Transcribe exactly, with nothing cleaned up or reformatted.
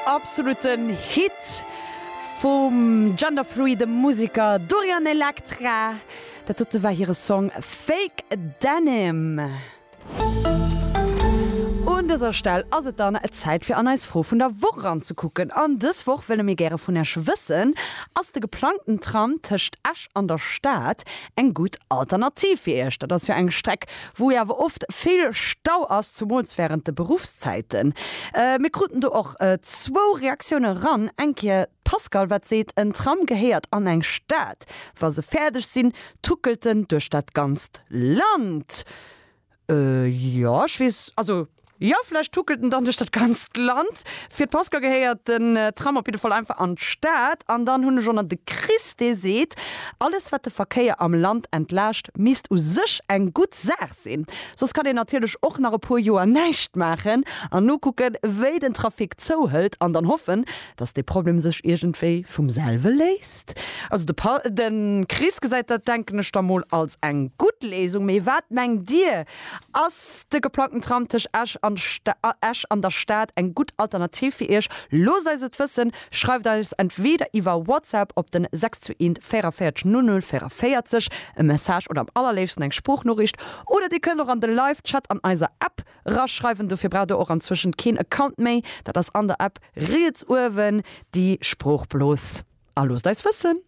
Absoluten Hit vum genderfluide Museker Dorian Electra. Dat dote war hire Song Fake Denim. Un dëser Stell ass et dann Zäit fir an eis Fro vun der Woch eranzekucken. An dës Woch wëlle mir gäre vun Iech wëssen, Ass de geplangten Tram tëscht Esch an der Stad eng gutt Alternativ fir Iech? Dat ass jo eng Streck, wou jo awer oft vill Stau ass, zumools wärend de Beruffszäiten. Mir kruten do och zwou Reaktioune ran. Eng Kéier d'Pascale, wat seet, En Tram gehéiert an eng Stad. Wa se fäerdeg sinn, tuckelt en duerch dat ganzt Land. Jo, ech weess, also jo, vläicht tuckelt en dann duerch dat ganzt Land. Fir d'Pascale gehéiert den Tram op jidde Fall einfach an d'Stad. An dann hunn ech och nach de Chris, dee seet, Alles wat de Verkéier am Land entlaascht, misst u sech eng gutt Saach sinn. Soss kann een natierlech och nach e puer Joer näischt maachen an nokucken, wéi den Trafic zouhëlt an dann hoffen, dass dee Problem sech iergendwéi vum selwe léist. Also de Pa, de Chris gesäit dat, denken ech da mol, als eng gutt Léisung. Mee wat mengt Dir? Ass de geplangten Tram tëscht Esch an Esch an der Stad eng gutt Alternativ fir Iech? Loosst eis et wëssen! Schreift eis entweeder iwwer WhatsApp op den sechs zwee eent véierundvéierzeg null null véierundvéierzeg e Message oder am allerléifsten eng Sproochnoriicht. Oder Dir kënnt och an de Live-Chat an eiser App raschreiwen. Dofir braucht Der och anzwëschent keen Account méi. Dat ass an der App riets uewen déi Sproochblos. A loosst eis wëssen!